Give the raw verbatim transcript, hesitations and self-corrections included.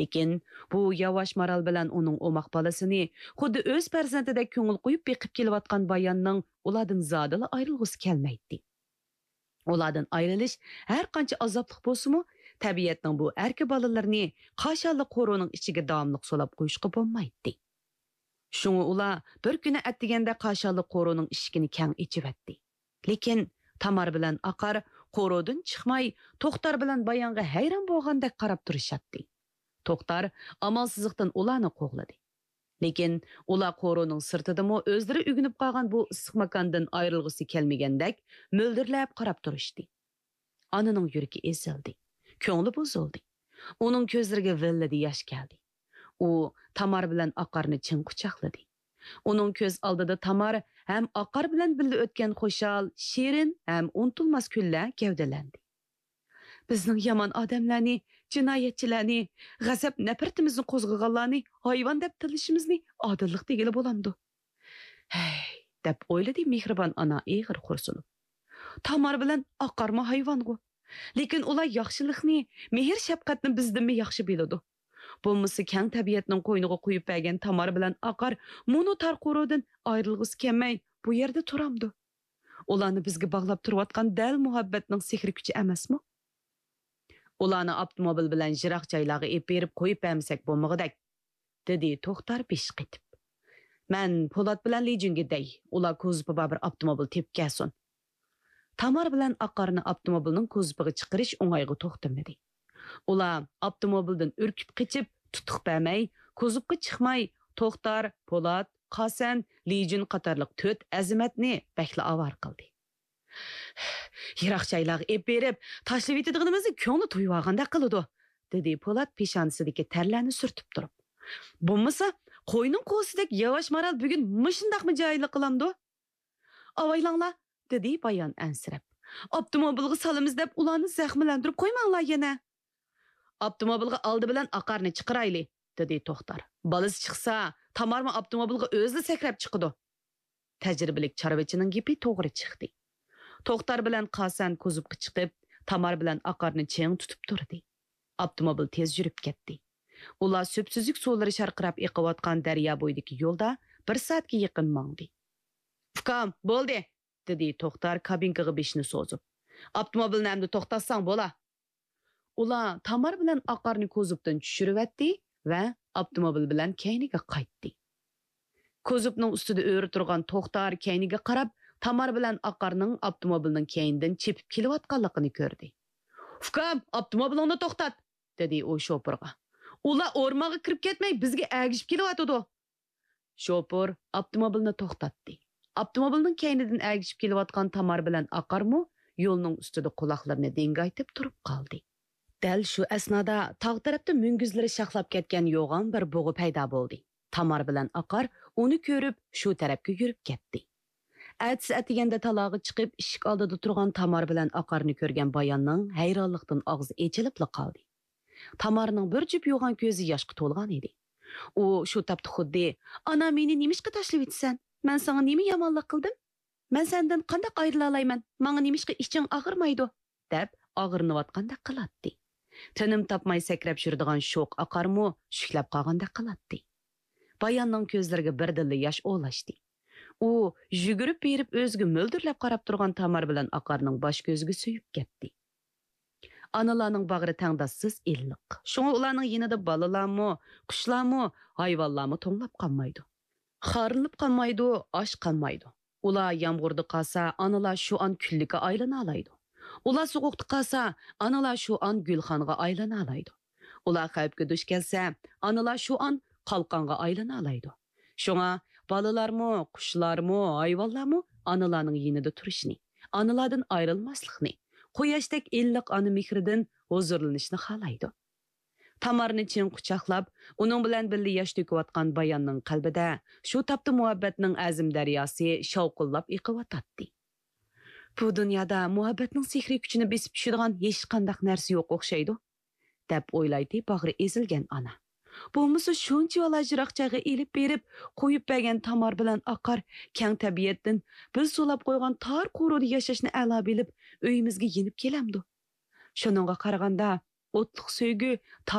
لېكىن بۇ ياۋاش مارال بىلەن ئۇنىڭ ئوماق بالىسىنى خۇددى ئۆز پەرزەنتىدەك كۆڭۈل قويۇپ بېقىپ كېلىۋاتقان باياننىڭ ئۇلاردىن زادىلا ئايرىلغۇسى كەلمەيتتى. ئۇلاردىن ئايرىلىش ھەر قانچە ئازابلىق بولسىمۇ، تەبىئەتنىڭ بۇ ئەركە بالىلىرىنى قاشانلىق قورۇنىڭ ئىچىگە داۋاملىق سولاپ قويۇشقا بولمايتتى. شۇڭا ئۇلار بىر كۈنى ئەتىگەندە قاشانلىق قورۇنىڭ ئىشىكىنى كەڭ ئېچىۋەتتى. لېكىن تامار بىلەن ئاقار قورۇدىن چىقماي، توختار بىلەن بايانغا ھەيران بولغاندەك قاراپ تۇرۇشاتتى. توختار ئامالسىزلىقتىن ئۇلارنى قوغلىدى. لېكىن ئۇلار قورۇنىڭ سىرتىدىمۇ ئۆزلىرى ئۆگىنىپ قالغان بۇ ئىسسىق ماكاندىن ئايرىلغۇسى كەلمىگەندەك مۆلدۈرلەپ قاراپ تۇرۇشتى. ئانىنىڭ يۈرىكى ئېزىلدى، كۆڭلى بۇزۇلدى. ئۇنىڭ كۆزلىرىگە ۋىللىدە ياش كەلدى. ئۇ تامار بىلەن ئاقارنى چىڭ قۇچاقلىدى. ئۇنىڭ كۆز ئالدىدا تامار ھەم ئاقار بىلەن بىللە ئۆتكەن خۇشال، شېرىن ھەم ئۇنتۇلماس كۈنلەر گەۋدىلەندى. بىزنىڭ يامان ئادەملەرنى، جىنايەتچىلەرنى، غەزەپ نەپرىتىمىزنى قوزغىغانلارنى ھايۋان دەپ تىللىشىمىزنى ئادىللىق دېگىلى بولامدۇ؟ ھەي، دەپ ئويلىدى مېھرىبان ئانا ئېغىر خورسۇنۇپ. تامار بىلەن ئاقارمۇ ھايۋانغۇ. لېكىن ئۇلار ياخشىلىقنى، مېھىر-شەپقەتنى بىزدىنمۇ ياخشى بىلىدۇ. بولمىسا كەڭ تەبىئەتنىڭ قوينىغا قويۇپ بەرگەن تامار بىلەن ئاقار مۇنۇ تار قورۇدىن ئايرىلغۇسى كەلمەي، بۇ يەردە تۇرامدۇ؟ ئۇلارنى بىزگە باغلاپ تۇرۇۋاتقان دەل مۇھەببەتنىڭ سېھرىي كۈچى ئەمەسمۇ؟ ئۇلارنى ئاپتوموبىل بىلەن يىراق جايلارغا ئېلىپ بېرىپ قويۇپ بەرمىسەك بولمىغۇدەك، دېدى توختار بېشى قېتىپ. مەن پولات بىلەن لىجۈنگە دەي، ئۇلار كوزۇپى بار بىر ئاپتوموبىل تېپىپ كەلسۇن. تامار بىلەن ئاقارنى ئاپتوموبىلنىڭ كوزۇپىغا چىقىرىش ئوڭايغا توختىمىدى. ئۇلار ئاپتوموبىلدىن ئۈركۈپ قېچىپ، تۇتۇق بەرمەي، كوزۇپقا چىقماي، توختار، پولات، قاسەن، لىجۈن قاتارلىق تۆت ئەزىمەتنى بەكلا ئاۋارە قىلدى. يىراق جايلارغا ئېلىپ بېرىپ، تاشلىۋېتىدىغىنىمىزنى كۆڭلى تويۇۋالغاندەك قىلىدۇ، دېدى پولات پېشانىسىدىكى تەرلەرنى سۈرتۈپ تۇرۇپ. بولمىسا، قوينىڭ قوزىسىدەك ياۋاش مارال بۈگۈن مۇشۇنداقمۇ جاھىللىق قىلامدۇ؟ ئاۋايلاڭلار، دېدى بايان ئەنسىرەپ. ئاپتوموبىلغا سالىمىز دەپ ئۇلارنى زەخىملەندۈرۈپ قويماڭلار يەنە. ئاپتوموبىلغا ئالدى بىلەن ئاقارنى چىقىرايلى، دېدى توختار. بالىسى چىقسا، تامارمۇ ئاپتوموبىلغا ئۆزىلا سەكرەپ چىقىدۇ. تەجرىبىلىك چارۋىچىنىڭ گېپى توغرا چىقتى. توختار بىلەن قاسەن كوزۇپقا چىقىپ، تامار بىلەن ئاقارنى چىڭ تۇتۇپ تۇردى. ئاپتوموبىل تېز يۈرۈپ كەتتى. ئۇلار سۈپسۈزۈك سۇلىرى شارقىراپ ئېقىۋاتقان دەريا بويىدىكى يولدا بىر سائەتكە يېقىن ماڭدى. ئۇكام، بولدى، دېدى توختار كابىنكىغا بېشىنى سوزۇپ. ئاپتوموبىلنى ئەمدى توختاتساڭ بولا. ئۇلار تامار بىلەن ئاقارنى كوزۇپتىن چۈشۈرۈۋەتتى ۋە ئاپتوموبىل بىلەن كەينىگە قايتتى. كوزۇپنىڭ ئۈستىدە ئۆرە تۇرغان توختار كەينىگە قاراپ، تامار بىلەن ئاقارنىڭ ئاپتوموبىلنىڭ كەينىدىن چېپىپ كېلىۋاتقانلىقىنى كۆردى. ئۇكام، ئاپتوموبىلىڭنى توختات! دېدى ئۇ شوپۇرغا. ئۇلار ئورمانغا كىرىپ كەتمەي، بىزگە ئەگىشىپ كېلىۋاتىدۇ. شوپۇر ئاپتوموبىلنى توختاتتى. ئاپتوموبىلنىڭ كەينىدىن ئەگىشىپ كېلىۋاتقان تامار بىلەن ئاقارمۇ يولنىڭ ئۈستىدە قۇلاقلىرىنى دىڭگايتىپ تۇرۇپ قالدى. دەل شۇ ئەسنادا تاغ تەرەپتە مۈڭگۈزلىرى شاخلاپ كەتكەن يوغان بىر بۇغا پەيدا بولدى. تامار بىلەن ئاقار ئۇنى كۆرۈپ، شۇ تەرەپكە يۈرۈپ كەتتى. ئەتىسى ئەتىگەندە تالاغا چىقىپ، ئىشىك ئالدىدا تۇرغان تامار بىلەن ئاقارنى كۆرگەن باياننىڭ ھەيرانلىقتىن ئاغزى ئېچىلىپلا قالدى. تامارنىڭ بىر جۈپ يوغان كۆزى ياشقا تولغان ئىدى. ئۇ شۇ تاپتا خۇددى، «ئانا، مېنى نېمىشقا تاشلىۋېتىسەن؟ مەن ساڭا نېمە يامانلىق قىلدىم؟ مەن سەندىن قانداق ئايرىلالايمەن؟ ماڭا نېمىشقا ئىچىڭ ئاغرىمايدۇ؟» دەپ ئاغرىنىۋاتقاندەك قىلاتتى. تىنىم تاپماي سەكرەپ يۈرىدىغان شوخ ئاقارمۇ شۈكلەپ قالغاندەك قىلاتتى. باياننىڭ كۆزلىرىگە بىردىنلا ياش ئولاشتى. ئۇ يۈگۈرۈپ بېرىپ ئۆزىگە مۆلدۈرلەپ قاراپ تۇرغان تامار بىلەن ئاقارنىڭ باش كۆزىگە سۆيۈپ كەتتى. ئانىلارنىڭ باغرى تەڭداشسىز ئىللىق. شۇڭا ئۇلارنىڭ يېنىدا بالىلارمۇ، قۇشلارمۇ، ھايۋانلارمۇ توڭلاپ قالمايدۇ. خارلىنىپ قالمايدۇ، ئاچ قالمايدۇ. ئۇلار يامغۇردا قالسا، ئانىلار شۇ ئان كۈللۈككە ئايلىنالايدۇ. ئۇلار سوغۇقتا قالسا، ئانىلار شۇ ئان گۈلخانغا ئايلىنالايدۇ. ئۇلار خەۋپكە دۇچ كەلسە، ئانىلار شۇ ئان قالقانغا ئايلىنالايدۇ. شۇڭا بالىلارمۇ، قۇشلارمۇ، ھايۋانلارمۇ ئانىلارنىڭ يېنىدا تۇرۇشنى، ئانىلاردىن ئايرىلماسلىقنى، قۇياشتەك ئىللىق ئانا مېھرىدىن ھۇزۇرلىنىشنى خالايدۇ. تامارنى چىڭ قۇچاقلاپ، ئۇنىڭ بىلەن بىللە ياش تۆكۈۋاتقان باياننىڭ قەلبىدە شۇ تاپتا مۇھەببەتنىڭ ئەزىم دەرياسى شاۋقۇنلاپ ئېقىۋاتاتتى. «بۇ دۇنيادا مۇھەببەتنىڭ سېھرىي كۈچىنى بېسىپ چۈشىدىغان ھېچقانداق نەرسە يوق ئوخشايدۇ»، دەپ ئويلايتتى باغرى ئېزىلگەن ئانا. بولمىسا شۇنچىۋالا يىراق جايغا ئېلىپ بېرىپ قويۇپ بەرگەن تامار بىلەن ئاقار كەڭ تەبىئەتتىن بىز سولاپ قويغان تار قورۇدا ياشاشنى ئەلا بىلىپ ئۆيىمىزگە يېنىپ كېلەمدۇ؟ شۇنىڭغا قارىغاندا، ئوتلۇق سۆيگۈ